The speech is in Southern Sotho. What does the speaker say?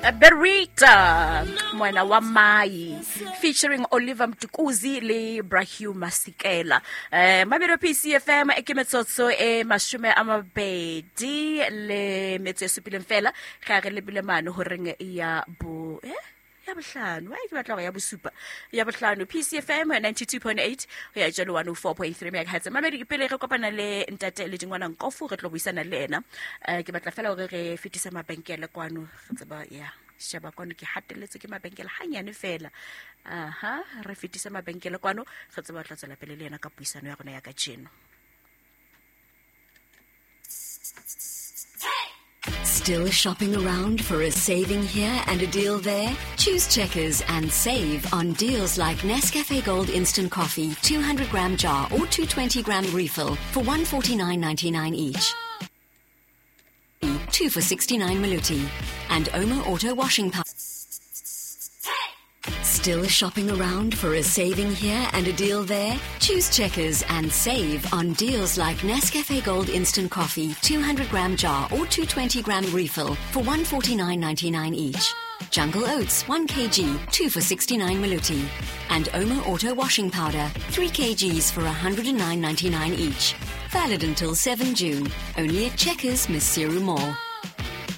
Berita Mwana wa Mai featuring Oliver Mtukudzi le Brahim Masikela. Mabelo PCFM ke metsotso e 20 le metso e supileng fela ga re lebile mane horeng ya bo ya bohlano, ai ke batla gore ya bosupa, ya bohlano. PCFM 92.8 ho ya jalo 104.3 megahertz. Mamedi, pele re kopana le ntate le dingwana Nkofu, re tlo buisana le ena, ke batla fela hore re fetise mabenkele kwano. Re tseba ya sheba kwano, ke hatelletswe ke mabenkele hanyane fela. Aha, re fetise mabenkele kwano, re tseba tla tswela pele le yena ka puisano ya rona ya kajeno. Still shopping around for a saving here and a deal there? Choose Checkers and save on deals like Nescafe Gold Instant Coffee, 200 gram jar or 220 gram refill for 149.99 each. 2 for 69 Maluti. And Omo Auto Washing Powder. Still shopping around for a saving here and a deal there? Choose Checkers and save on deals like Nescafe Gold Instant Coffee, 200 gram jar or 220 gram refill for 149.99 each. Jungle Oats 1 kg, 2 for 69 Maluti. And Omo Auto Washing Powder, 3 kgs for 109.99 each. Valid until 7 June. Only at Checkers, Maseru Mall.